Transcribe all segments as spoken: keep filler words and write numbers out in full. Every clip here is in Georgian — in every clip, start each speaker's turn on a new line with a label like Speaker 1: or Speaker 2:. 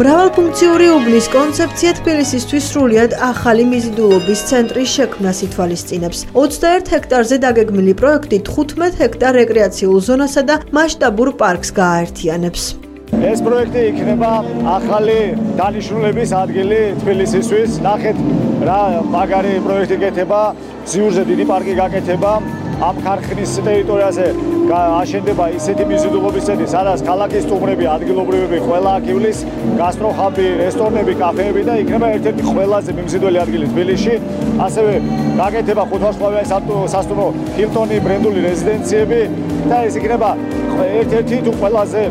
Speaker 1: მრავალფუნქციური უბნის კონცეფცია თბილისისთვის სრულიად ახალი მიზიდულობის ცენტრის შექმნას ითვალისწინებს. ოცდაერთ ჰექტარზე დაგეგმილი პროექტი თხუთმეტ ჰექტარ რეკრეაციულ ზონასა და მასშტაბურ პარკს გააერთიანებს.
Speaker 2: ეს პროექტი იქნება ახალი დანიშნულების ადგილი თბილისისთვის. ნახეთ რა მაგარი პროექტი გეთება, ზიურზე დიდი პარკი გაკეთება. ამ ქარხნის ტერიტორიაზე აშენდება ისეთი მიზიდულობის ცენტრი, სადაც ქალაქის სტუმრები, ადგილობრივები ყველა აქ ივლის, გასტროხაბი, რესტორნები, კაფეები და იქნება ერთ-ერთი ყველაზე მიმზიდველი ადგილი თბილისში. ასევე გაკეთება ხუთვარსკვლავიანი სასტუმრო ჰილტონი ბრენდული რეზიდენციები და ეს იქნება ერთ-ერთი თუ ყველაზე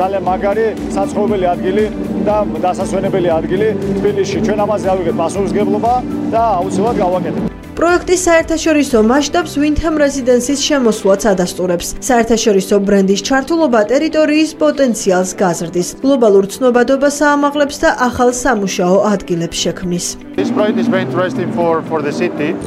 Speaker 2: ძალიან მაგარი საცხოვრებელი ადგილი და დასასვენებელი ადგილი თბილისში. ჩვენ ამაზე ავიღეთ პასუხისმგებლობა და აუცილებლად გავაკეთებთ.
Speaker 1: პროექტის საერთაშორისო მასშტაბს Windham Residences შემოსვლაც ადასტურებს. საერთაშორისო ბრენდის ჩართულობა ტერიტორიის პოტენციალს გაზრდის, გლობალურ ცნობადობას აამაღლებს და ახალ სამუშაო ადგილებს შექმნის.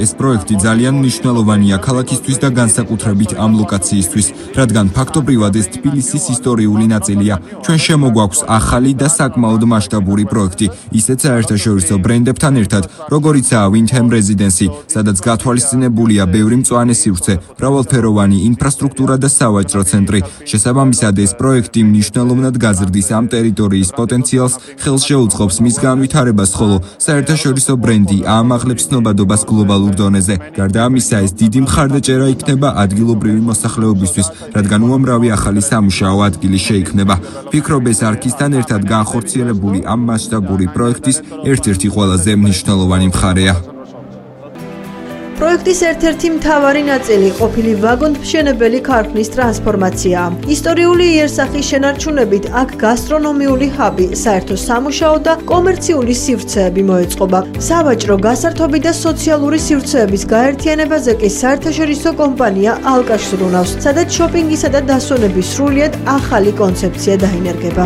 Speaker 3: ეს პროექტი ძალიან მნიშვნელოვანია ქალაქისთვის და განსაკუთრებით ამ ლოკაციისთვის, რადგან ფაქტობრივად ეს თბილისის ისტორიული ნაწილია. ჩვენ შემოგვაქვს ახალი და საკმაოდ მასშტაბური პროექტი, ისეთ საერთაშორისო ბრენდებთან ერთად, როგორიცაა Windham Residency, სადაც გათვალისწინებულია ბევრი მწვანე სივრცე, მრავალფეროვანი ინფრასტრუქტურა და სავაჭრო ცენტრი. შესაბამისად, ეს პროექტი მნიშვნელოვნად გაზრდის ამ ტერიტორიის პოტენციალს, ხელს შეუწყობს მის განვითარებას, ხოლო საერთაშორისო ბრენდი აამაღლებს ცნობადობას გლობალურ დონეზე. გარდა ამისა, ეს დიდი მხარდაჭერა იქნება ადგილობრივი მოსახლეობისთვის, რადგან უამრავი ახალი სამუშაო ადგილი შეიქმნება. ვფიქრობ, ეს არქისთან ერთად განხორციელებული ამ მასშტაბური პროექტის ერთ-ერთი ყველაზე მნიშვნელოვანი მხარეა.
Speaker 1: პროექტის ერთ-ერთი მთავარი ნაწილი ყოფილი ვაგონმშენებელი ქარხნის ტრანსფორმაციაა. ისტორიული იერსახის შენარჩუნებით აქ გასტრონომიული ჰაბი, საერთო სამუშაო და კომერციული სივრცეები მოეწყობა. სავაჭრო, გასართობი და სოციალური სივრცეების გაერთიანებაზე კი საერთაშორისო კომპანია ალკაშს ზრუნავს, სადაც შოპინგისა და დასვენების სრულიად ახალი კონცეფცია დაინერგება.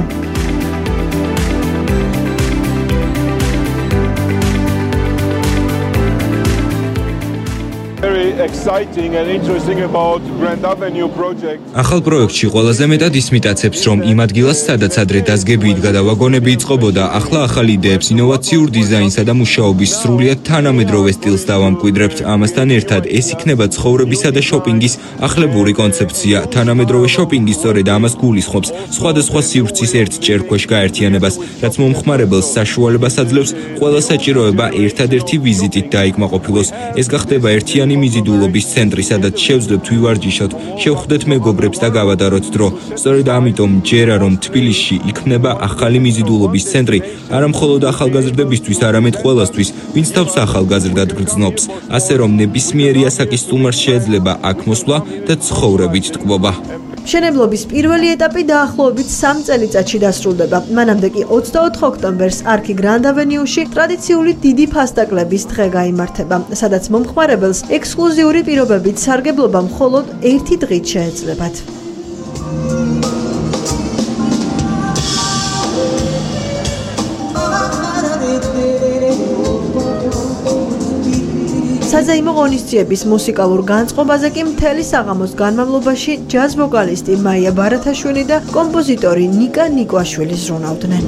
Speaker 4: ახალ პროექტში ყველაზე მეტად ისმიტაცებს, რომ იმ ადგილას, სადაც ადრე დაზგები იდგა და ვაგონები იწყობოდა, ახლა ახალ იდეებს, ინოვაციურ დიზაინსა და მუშაობის სრულიად თანამედროვე სტილს დავამკვიდრებთ. ამასთან ერთად, ეს იქნება ცხოვრებისა და შოპინგის ახლებური კონცეფცია. თანამედროვე შოპინგი სწორედ ამას გულისხმობს, სხვადასხვა სივრცის ერთ ჭერქვეშ გაერთიანებას, რაც მომხმარებელს საშუალებას აძლევს ყველა საჭიროება ერთადერთი ვიზიტით დაიკმაყოფილოს. ეს გახდება ერთიანი მიზიდულობის ცენტრი, სადაც შევძლებთ ვივარჯიშოთ, შევხვდეთ მეგობრებს და გავადაროთ დრო. სწორედ ამიტომ ჯერა რომ თბილისში იქმნება ახალი მიზიდულობის ცენტრი, არა მხოლოდ ახალგაზრდებისთვის, არამედ ყველასთვის, ვინც თავს ახალგაზრდად გრძნობს, ასე რომ ნებისმიერი ასაკის სტუმარს შეიძლება აქ მოსვლა და ცხოვრებით ტკბობა.
Speaker 1: მშენებლობის პირველი ეტაპი დაახლოებით სამ წელიწადში დასრულდება. მანამდე კი ოცდაოთხ ოქტომბერს არქი გრანდ ავენიუში ტრადიციული დიდი ფასტაკლების დღე გაიმართება, სადაც მომხმარებელს ექსკლუზიური პირობებით სარგებლობა მხოლოდ ერთი დღით შეეძლებათ. საზეიმო ღონისძიების მუსიკალურ განწყობაზე კი მთელი საღამოს განმავლობაში ჯაზ ვოკალისტი მაია ბარათაშვილი და კომპოზიტორი ნიკა ნიკვაშვილი ზრუნავდნენ.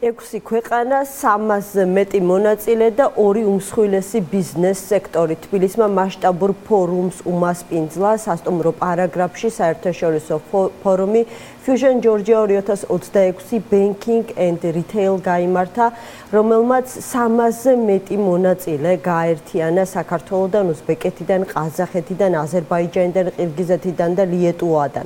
Speaker 1: ექვსი ქვეყანა, სამასზე მეტი მონაწილე და ორი უმსხვილესი ბიზნეს სექტორი. თბილისმა მასშტაბურ ფორუმს უმასპინძლა სასტუმრო პარაგრაფში საერთაშორისო ფორუმი Fusion Georgia ორი ათას ოცდაექვსი Banking and Retail გაიმართა, რომელმაც სამასზე მეტი მონაწილე გააერთიანა საქართველოდან, უზბეკეთიდან, ყაზახეთიდან, აზერბაიჯანიდან, ყირგიზეთიდან და ლიეტუვადან.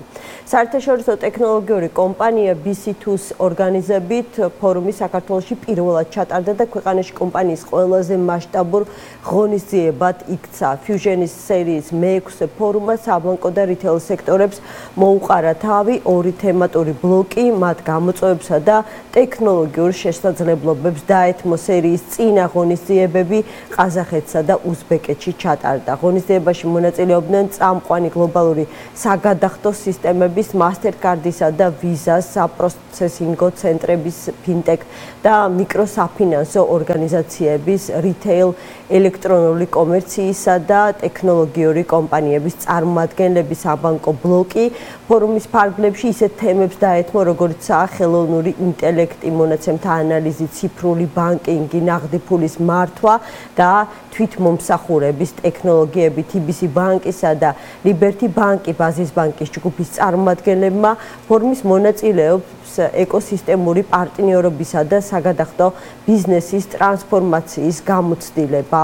Speaker 1: საერთაშორისო ტექნოლოგიური კომპანია B C two-ს ორგანიზებით ფორუმი საქართველოში პირველად ჩატარდა და ქვეყანაში კომპანიის ყველაზე მასშტაბურ ღონისძიებად იქცა. Fusion-ის სერიის მეექვსე ფორუმმა საბანკო და რიტეილ სექტორებს მოუყარა თავი, ორი თემატური ბლოკი მათ გამოწვევებსა და ტექნოლოგიურ შესაძლებლობებს დაეთმო. სერიის წინა ღონისძიებები ყაზახეთსა და უზბეკეთში ჩატარდა. ღონისძიებაში მონაწილეობდნენ წამყვანი გლობალური საგადახდო სისტემების, Mastercard-ისა და Visa-ს საპროცესინგო ცენტრების, ფინტექ და მიკროსაფინანსო ორგანიზაციების, რითეილ, ელექტრონული კომერციისა და ტექნოლოგიური კომპანიების წარმომადგენლები. საბანკო ბლოკი ფორუმის ფარგლებში ისეთ თემებს დაეთმო, როგორიცაა ხელოვნური ინტელექტი, მონაცემთა ანალიზი, ციფრული ბანკინგი, ნაღდი ფულის მართვა და თვითმომსახურების ტექნოლოგიები. T B C ბანკისა და Liberty ბანკი ბაზის ბანკის ჯგუფის წარმომადგენლებმა ფორუმის მონაწილეობს ეკოსისტემური პარტნიორობისა და საგადახდო ბიზნესის ტრანსფორმაციის გამოცდილება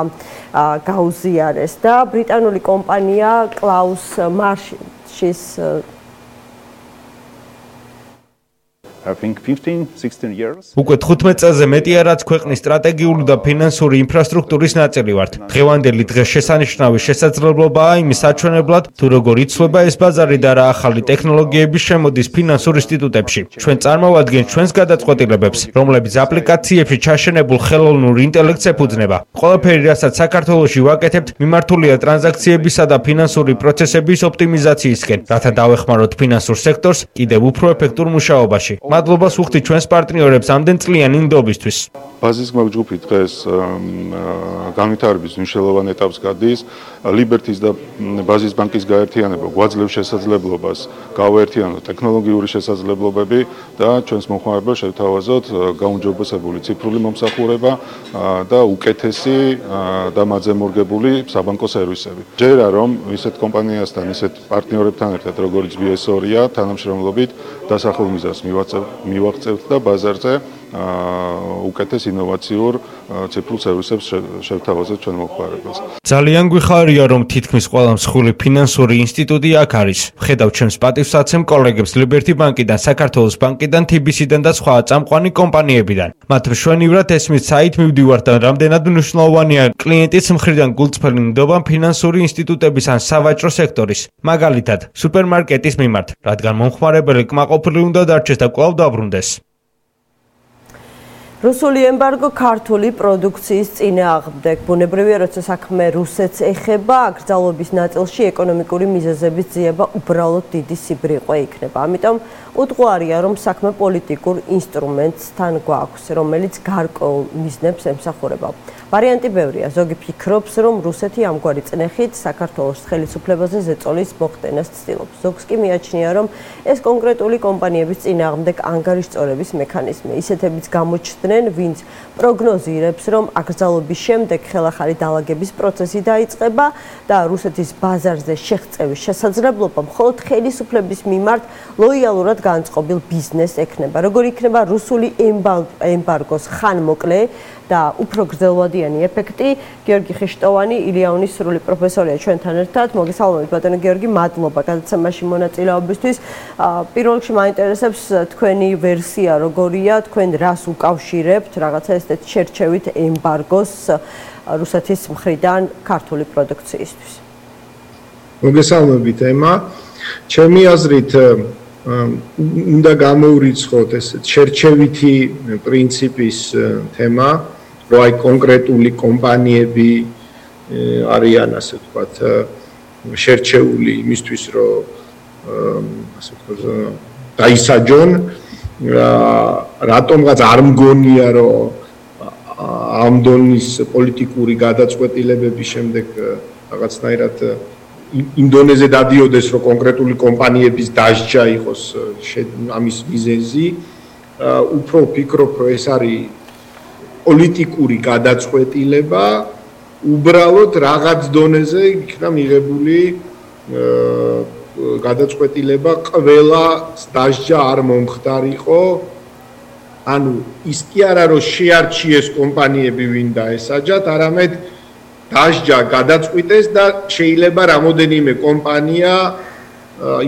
Speaker 1: გაუზიარეს და ბრიტანული კომპანია Klaus Marsh's
Speaker 5: უკვე თხუთმეტ წელზე მეტია, რაც ქვეყნის სტრატეგიული და ფინანსური ინფრასტრუქტურის ნაწილი ვართ. დღევანდელი დღეს შესანიშნავი შესაძლებლობაა იმის საჩვენებლად, თუ როგორ იცვლება ეს ბაზარი და რა ახალი ტექნოლოგიები შემოდის ფინანსურ ინსტიტუტებში. ჩვენ წარმოვადგენთ ჩვენს გადაწყვეტილებებს, რომლებიც აპლიკაციებში ჩაშენებულ ხელოვნურ ინტელექტს ეფუძნება. ყველაფერი, რასაც საქართველოში ვაკეთებთ, მიმართულია ტრანზაქციებისა და ფინანსური პროცესების ოპტიმიზაციისკენ, რათა დავეხმაროთ ფინანსურ სექტორს კიდევ უფრო ეფექტურ მუშაობაში. მადლობას ვუხდით ჩვენს პარტნიორებს ამდენ წლიანი ნდობისთვის.
Speaker 6: ბაზის ჯგუფი დღეს განვითარების მნიშვნელოვან ეტაპს გადის. Liberty-ს და ბაზის ბანკის გაერთიანება გვაძლევს შესაძლებლობას გავაერთიანოთ ტექნოლოგიური შესაძლებლობები და ჩვენს მომხმარებელს შევთავაზოთ გაუმჯობესებული ციფრული მომსახურება და უკეთესი და მაძემორგებული საბანკო სერვისები. ჯერა რომ ისეთ კომპანიასთან, ისეთ პარტნიორებთან ერთად, როგორც B S ორი-ია, თანამშრომლობით დასახულ მიზანს მივაღწევთ და ბაზარზე უკეთეს ინოვაციურ ციფრულ სერვისებს შევთავაზეთ ჩვენ მომხმარებელს.
Speaker 5: ძალიან გვიხარია, რომ თითქმის ყველა მსხვილი ფინანსური ინსტიტუტი აქ არის. ვხედავ ჩემს პატივსაცემ კოლეგებს Liberty ბანკიდან, საქართველოს ბანკიდან, T B C-დან და სხვა წამყვანი კომპანიებიდან. მათ მშვენივრად ესმის საით მივდივართ და რამდენად მნიშვნელოვანია კლიენტის მხრიდან გულწრფელი ნდობა ფინანსური ინსტიტუტების ან სავაჭრო სექტორის, მაგალითად, სუპერმარკეტის მიმართ, რადგან მომხმარებელი კმაყოფილი უნდა დარჩეს და კვლავ დაბრუნდეს.
Speaker 1: რუსული ემბარგო ქართული პროდუქციის წინააღმდეგ. ბუნებრივია, როცა საქმე რუსეთს ეხება, აკრძალვების ნაწილში ეკონომიკური მიზეზების ძიება უბრალოდ დიდი სიბრიყვა იქნება. ამიტომ უტყუარია, რომ საქმე პოლიტიკურ ინსტრუმენტთან გვაქვს, რომელიც გარკვეულ მიზნებს ემსახურება. ვარიანტი ბევრია. ზოგი ფიქრობს, რომ რუსეთი ამგვარი წნეხით საქართველოს ხელისუფლებაზე ზეწოლის მოხდენას ცდილობს. ზოგს კი მიაჩნია, რომ ეს კონკრეტული კომპანიების წინააღმდეგ ანგარიშწორების მექანიზმი. ისეთებიც გამოჩნდნენ, ვინც პროგნოზირებს, რომ აკრძალვების შემდეგ ხელახალი დაალაგების პროცესი დაიწყება და რუსეთის ბაზარზე შეღწევის შესაძლებლობა მხოლოდ ხელისუფლების მიმართ ლოიალურად განწყობილ ბიზნესს ექნება. როგორ იქნება რუსული ემბარგოს ხანმოკლე და უფრო გრძელვადიანი ეფექტი? გიორგი ხიშტოვანი, ილიაუნის სრული პროფესორია ჩვენთან ერთად. მოგესალმებით ბატონო გიორგი, მადლობა გადაცემაში მონაწილეობისთვის. პირველ რიგში მაინტერესებს თქვენი ვერსია როგორია, თქვენ რას უკავშირებთ რაღაცა ესეთ შერჩევით ემბარგოს რუსეთის მხრიდან ქართული პროდუქციისთვის?
Speaker 7: მოგესალმებით ემა. ჩემი აზრით უნდა გამოურიცხოთ ესეთ შერჩევითი პრინციპის თემა, რომ აი კონკრეტული კომპანიები არიან, ასე ვთქვათ, შერჩეული იმისთვის, რომ ასე ვთქვათ, დაისაჯონ. რატომღაც არ მგონია, რომ ამ დონის პოლიტიკური გადაწყვეტილებების შემდეგ რაღაცნაირად იმ დონეზე დადიოდეს, რომ კონკრეტული კომპანიების დასჯა იყოს ამის მიზეზი. უფრო ვფიქრობ, რომ ეს არის პოლიტიკური გადაწყვეტილება, უბრალოდ რაღაც დონეზე იქნა მიღებული გადაწყვეტილება ყველა დასჯა არ მომხდარიყო. ანუ ის კი არა, რომ შეარჩიეს კომპანიები, ვინ დაესაჯათ, არამედ დასჯა გადაწყვიტეს და შეიძლება რამოდენიმე კომპანია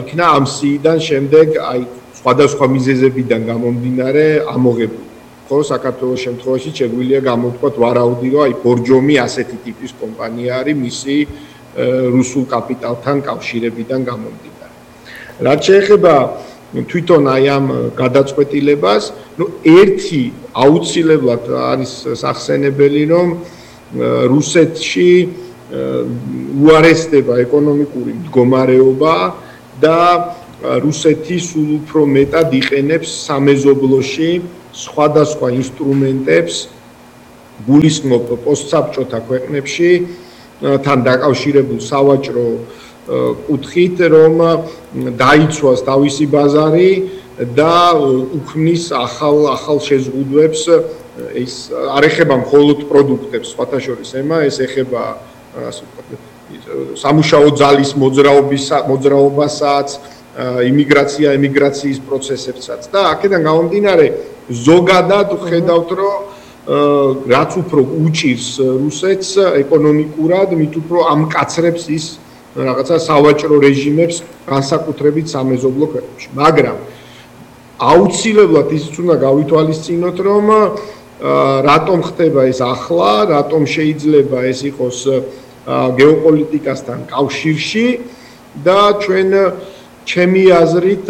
Speaker 7: იქნა ამ სიიდან შემდეგ აი სხვადასხვა მიზეზებიდან გამომდინარე ამოღებული. ხო, საქართველოს შემთხვევაში შეგვიძლია გამოვთქვათ ვარაუდი, რომ აი ბორჯომი ასეთი ტიპის კომპანია არის მისი რუსულ კაპიტალთან კავშირებიდან გამომდინარე. რაც შეეხება თვითონ აი ამ გადაწყვეტილებას, ну ერთი აუცილებლად არის სახსენებელი, რომ რუსეთში უარესდება ეკონომიკური მდგომარეობა და რუსეთი სულ უფრო მეტად იყენებს სამეზობლოში სხვადასხვა ინსტრუმენტებს გულისხმობ პოსტსაბჭოთა ქვეყნებში თან დაკავშირებულ სავაჭრო კუთხით, რომ დაიცვას თავისი ბაზარი და უქმნის ახალ ახალ შეზღუდვებს, ეს არ ეხება მხოლოდ პროდუქტებს, სხვათა შორის ემა, ეს ეხება ასე ვთქვათ, სამუშაო ძალის მოძრაობის მოძრაობასაც, იმიგრაცია, ემიგრაციის პროცესებსაც და აქედან გამომდინარე ზოგადად ხედავთ, რომ რაც უფრო უჭირს რუსეთს ეკონომიკურად, მით უფრო ამკაცრებს ის რაღაცა სავაჭრო რეჟიმებს განსაკუთრებით სამეზობლო ქვეყნებში. მაგრამ აუცილებლად ისიც უნდა გავითვალისწინოთ, რომ რატომ ხდება ეს ახლა, რატომ შეიძლება ეს იყოს გეოპოლიტიკასთან კავშირში და ჩვენ ჩემი აზრით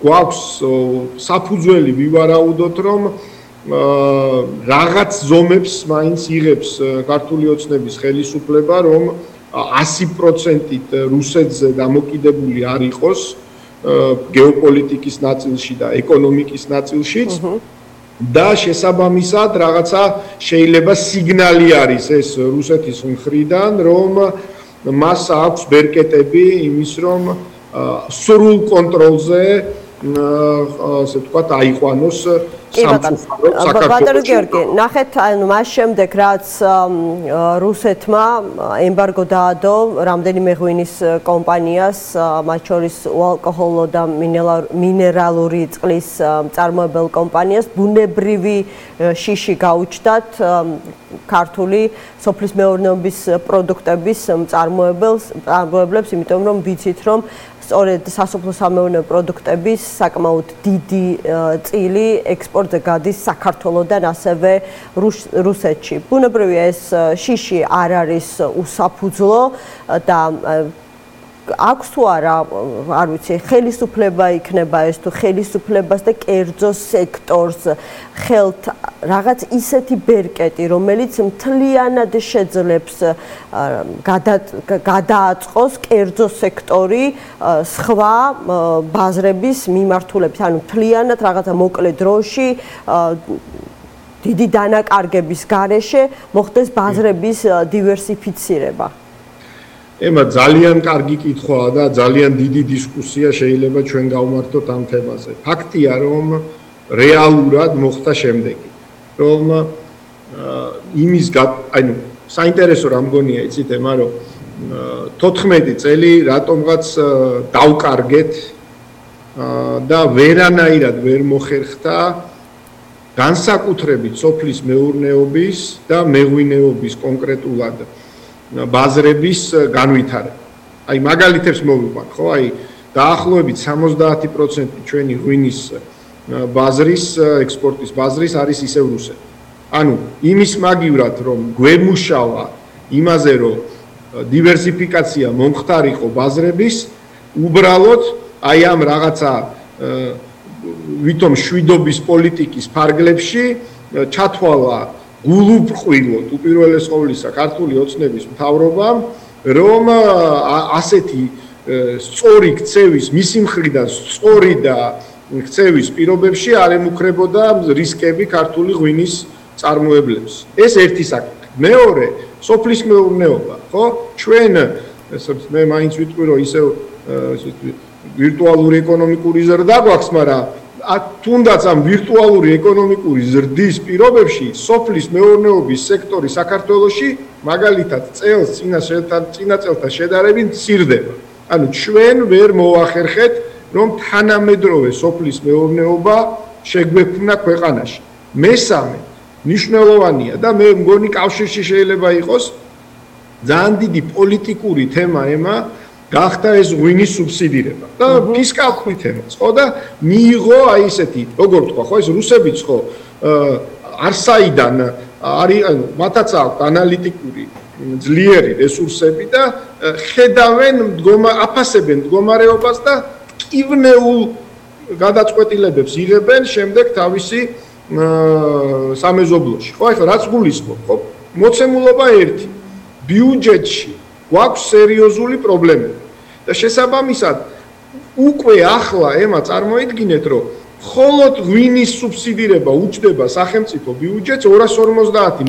Speaker 7: გვაქვს საფუძველი ვივარაუდოთ, რომ რაღაც ზომებს მაინც იღებს ქართული ოცნების ხელისუფლება, რომ ასი პროცენტით რუსეთზე დამოკიდებული არ იყოს გეოპოლიტიკის ნაწილში და ეკონომიკის ნაწილშიც და შესაბამისად რაღაცა შეიძლება სიგნალი არის ეს რუსეთის მხრიდან, რომ მას აქვს ბერკეტები იმის, რომ სრულ კონტროლზე ასე ვთქვათ აიყვანოს
Speaker 1: სამწუხარო ბატონო გიორგი, ნახეთ, ანუ მას შემდეგ რაც რუსეთმა ემბარგო დაადო რამდენიმე ღვინის კომპანიას, მათ შორის უალკოჰოლო და მინერალური წყლის მწარმოებელ კომპანიას, ბუნებრივი შიში გაუჩნდათ ქართული სოფლის მეურნეობის პროდუქტების მწარმოებლებს, იმიტომ რომ ვიცით, რომ სწორედ სასოფლო-სამეურნეო პროდუქტების საკმაოდ დიდი წილი ექსპორტზე გადის საქართველოდან ასევე რუსეთში. ბუნებრივია ეს შიში არ არის უსაფუძვლო და აქვს თუ არა, არ ვიცი, ხელისუფლება იქნება ეს თუ ხელისუფლებას და კერძო სექტორს ხელთ რაღაც ისეთი ბერკეტი, რომელიც მთლიანად შეძლებს გადააწყოს კერძო სექტორი სხვა ბაზრების მიმართულებით, ანუ მთლიანად რაღაცა მოკლე დროში დიდი დანაკარგების გარეშე მოხდეს ბაზრების დივერსიფიცირება.
Speaker 7: ემა ძალიან კარგი კითხვაა და ძალიან დიდი დისკუსია შეიძლება ჩვენ გავმართოთ ამ თემაზე. ფაქტია, რომ რეალურად მოხდა შემდეგი, რომ იმის ანუ საინტერესო რა მგონია იცით ემა, რომ თოთხმეტი წელი რატომღაც დავკარგეთ და ვერანაირად ვერ მოხერხდა განსაკუთრებით სოფლის მეურნეობის და მეღვინეობის კონკრეტულად ბაზრების განვითარება. აი მაგალითებს მოვიყვან, ხო? აი დაახლოებით სამოცდაათი პროცენტი ჩვენი ღვინის ბაზრის, ექსპორტის ბაზრის არის ისევ რუსეთი. ანუ იმის მაგივრად, რომ გვემუშავა იმაზე, რომ დივერსიფიკაცია მომხდარიყო ბაზრების, უბრალოდ აი ამ რაღაცა ვითომ შვიდობის პოლიტიკის ფარგლებში ჩათვალა გულუბრყვილოდ უპირველეს ყოვლისა ქართული ოცნების მთავრობამ, რომ ასეთი სწორი ქცევის მისი მხრიდან სწორი და ქცევის პირობებში არ ემუქრებოდა რისკები ქართული ღვინის წარმოებლებს. ეს ერთი საკითხი. მეორე, სოფლის მეურნეობა, ხო? ჩვენ მე მაინც ვიტყვი, რომ ისევ ვირტუალური ეკონომიკური ზრდა გვაქვს, მაგრამ თუნდაც ამ ვირტუალური ეკონომიკური ზრდის პირობებში სოფლის მეურნეობის სექტორი საქართველოში მაგალითად წელს წინა წელთან შედარებით მცირდება. ანუ ჩვენ ვერ მოახერხეთ, რომ თანამედროვე სოფლის მეურნეობა შეგვექმნა ქვეყანაში. მესამე, მნიშვნელოვანია და მე მგონი კავშირში შეიძლება იყოს ძალიან დიდი პოლიტიკური თემა ემა გახდა ეს ღვინის სუბსიდირება და ფისკალური თემაც, ხო და მიიღო აი ესეთი, როგორ ვთქვა, ხო ეს რუსებიც ხო არსაიდან არის, ანუ მათაც აქვს ანალიტიკური ძლიერი რესურსები და ხედავენ, აფასებენ მდგომარეობას და კივნეულ გადაწყვეტილებებს იღებენ შემდეგ თავისი სამეზობლოში. ხო, ახლა რაც გულისხმობ, ხო, მოცემულობა ერთი. ბიუჯეტში გვაქვს სერიოზული პრობლემები. და შესაბამისად უკვე ახლა ემა წარმოიდგინეთ, რომ მხოლოდ ღვინის სუბსიდირება უჯდება სახელმწიფო ბიუჯეტს ორას ორმოცდაათი